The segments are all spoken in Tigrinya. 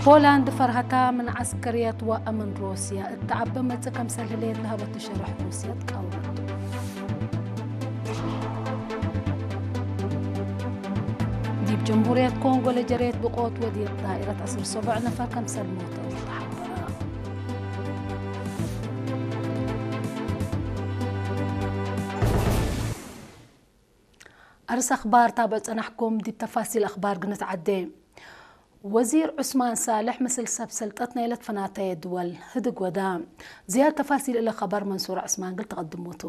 ፖላንድ ፈርሃታ ምን ዐስከርየት ወአምን ሩስያ እትዐቢ መጽእ ከምሰል ህሌት ለሀበቱ ሸርሕ ሩስያ ትቃወመቱ። ዲብ ጀምሁርየት ኮንጎ ለጀርየት ብቆት ወዲቅ ዳኢረት ዐስር ሰቡዕ ነፈር ከምሰል ሞተው ተሐበረ። አርስ አኽባር ታብዕ ጸናሕኩም። ዲብ ተፋሲል አኽባር ግንትዓዴ። ወዚር ዑስማን ሳልሕ ምስል ሰብ ሰልጠት ናይ ለትፈናተየ ድወል ህድግ ወዳ። ዝያድ ተፋሲል እለ ኸበር መንሱር ዑስማን ግል ተቐድሞቱ።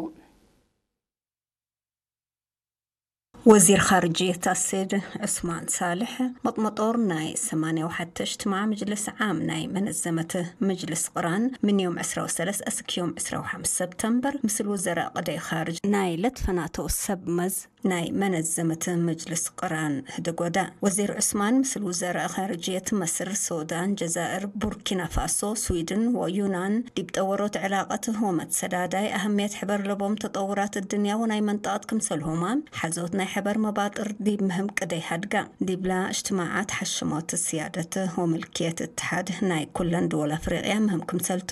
ወዚር ኻርጅየት አሴድ ዑስማን ሳልሕ መጥመጦር ናይ ሰማንያ ወሓተ እጅትማዕ ምጅልስ ዓም ናይ መነዘመት ምጅልስ ቅራን ምን ዮም ዕስራ ወሰለስ እስክ ዮም ዕስራ ወሓምስ ሰብተምበር ምስል ውዘራእ ቅደይ ኻርጅ ናይ ለትፈናተው ሰብ መዝ ናይ መነዘመት ምጅልስ ቅራን ህደጎዳ። ወዚር ዑስማን ምስል ውዘራእ ኻርጅየት መስር፣ ሱዳን፣ ጀዛእር፣ ቡርኪና ፋሶ፣ ስዊድን ወዩናን ዲብ ጠወሮት ዕላቀት ሆመት ሰዳዳይ አህምየት ሕበር ለቦም ተጠውራት እድንያ ወናይ መንጠቀት ክምሰልሆማ ሓዞት ናይ ሕበር መባጥር ዲብ ምህም ቅደይ ሃድጋ ዲብላ እጅትማዓት ሓሽሞት ስያደት ወምልክየት እትሓድ ናይ ኩለን ድወል አፍሪቅያ ምህም ክምሰልቱ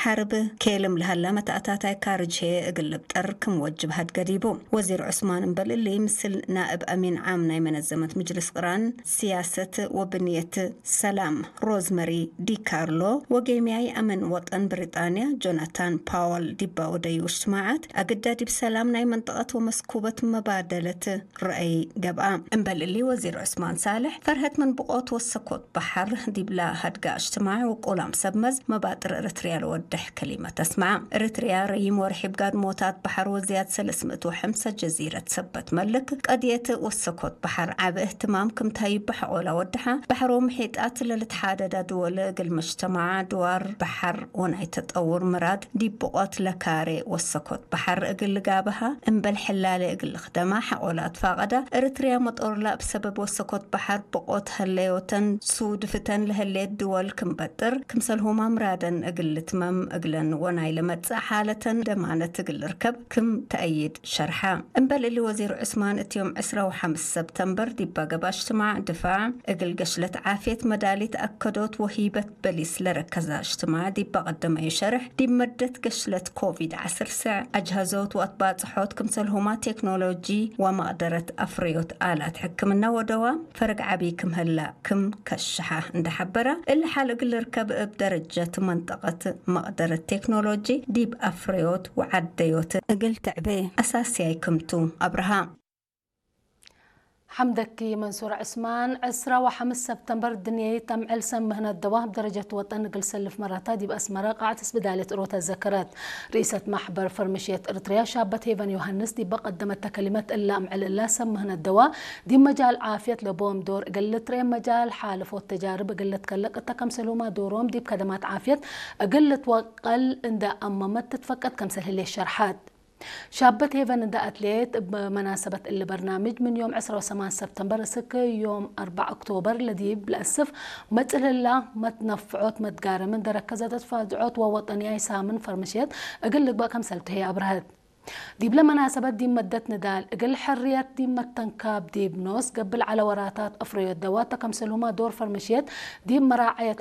ሓርብ ኬልም ለሃላ መታእታታይ ካርጅ ሄ እግል ልብጠር ክም ወጅብ ሃድገ ዲቡ። ወዚር ዑስማን እምበል እሊ ምስል ናእብ አሚን ዓም ናይ መነዘመት ምጅልስ ቅራን ስያሰት ወብንየት ሰላም ሮዝመሪ ዲካርሎ ወጌምያይ አመን ወጠን ብሪጣንያ ጆናታን ፓወል ዲባ ወደዩ እጅትማዓት አግዳ ዲብ ሰላም ናይ መንጠቀት ወመስኩበት መባደለት ረአይ ገብአ። እምበል እሊ ወዚር ዑስማን ሳልሕ ፈርሀት ምን ብቆት ወሰኮት በሐር ዲብላ ሃድጋ እጅትማዕ ወቆላም ሰብ መዝ መባጥር ኤረትርያ ለወድሕ ከሊመት አስመዓ። ኤረትርያ ረይም ወርሒ ብጋድሞታት በሐር ወዝያድ ሰለስ ምእት ወሐምሳ ጀዚረት ሰበት መልክ ቀድየት ወሰኮት በሐር ዓቢ እህትማም ክምታይ ብሐቆላ ወድሓ። በሐር ወምሒጣት ለልትሓደዳ ድወል እግል መጅተማዓ ድዋር በሐር ወናይ ተጠውር ምራድ ዲብ ብቆት ለካሬ ወሰኮት በሐር እግል ልጋብሃ እምበል ሕላሌ እግል ልኽደማ ሐቆላ ትፋቀዳ። ኤረትርያ መጦርላ እብ ሰበብ ወሰኮት በሐር ብቆት ሀለዮተን ሱድፍተን ለህሌት ድወል ክምበጥር ክምሰልሁማ ምራደን እግል ልትመም እግለን ወናይ ለመጽእ ሓለተን ደማነት እግል ልርከብ ክም ተአይድ ሸርሓ። እምበል እሊ ወዚር ዑስማን እት ዮም ዕስራ ወሓምስ ሰብተምበር ዲባ ገባ እጅትማዕ ድፋዕ እግል ገሽለት ዓፍየት መዳሊት አከዶት ወሂበት በሊስ ለረከዛ እጅትማዕ ዲባ ቀደመዩ ሸርሕ ዲብ መደት ገሽለት ኮቪድ ዐስር ስዕ አጅሀዞት ወአትባጽሖት ክምሰልሁማ ቴክኖሎጂ ወመቅደረት አፍረዮት አላት ሕክምና ወደዋ ፈረግ ዓቢ ክም ህላ ክም ከሽሓ እንደ ሐበራ እሊ ሓል እግል ልርከብ እብ ደረጀት መንጠቀት መቅደረት ቴክኖሎጂ ዲብ አፍረዮት ወዓደዮት እግል ትዕቤ አሳስያይ ክምቱ አብርሃ። ሐምደኪ መንሱር ዑስማን። ዕስራ ወሐምስ ሰብተምበር ድንየይት አምዕል ሰም ምህነት ደዋብ ደረጀት ወጠን እግል ሰልፍ መራታ ዲብ አስመራ ቃዕት ስብዳልየት እሮተ ዘከረት። ርኢሰት ማሕበር ፈርምሽየት እርትርያ ሻበት ሄቨን ዮሃንስ ዲበ ቀደመተ ከሊመት እላ አምዕል እላ ሰም ምህነት ደዋ ዲብ መጃል ዓፍየት ለቦም ዶር እግል ልትርኤ መጃል ሓለፎት ተጃርብ እግል ልትከለቅ እተ ከምሰሉማ ዶሮም ዲብ ከደማት ዓፍየት እግል ልትወቀል እንደ አመመት ትትፈቀድ ከምሰል ህሌት ሸርሓት። ሻበት ሄቨን እንደ አትሌት እብ መናሰበት እሊ በርናምጅ ምን ዮም ዕስራ ወሰማን ሰብተምበር እስክ ዮም አርባዕ ኦክቶበር ለዲብ ለእስፍ መጽልላ መትነፍዖት መትጋረምን ደረከዘ ተትፋዝዖት ወወጠንያይ ሳምን ፈርምሽየት እግል ልግበእ ከምሰልቱ ህይ አብረህት። ዲብለ መናሰበት ዲብ መደት ንዳል እግል ሕርየት ዲብ መተንካብ ዲብ ኖስ ገብእ ለዐለ ወራታት አፍረዮት ደዋተ ከምሰልሁማ ዶር ፈርምሽየት ዲብ መራዐየት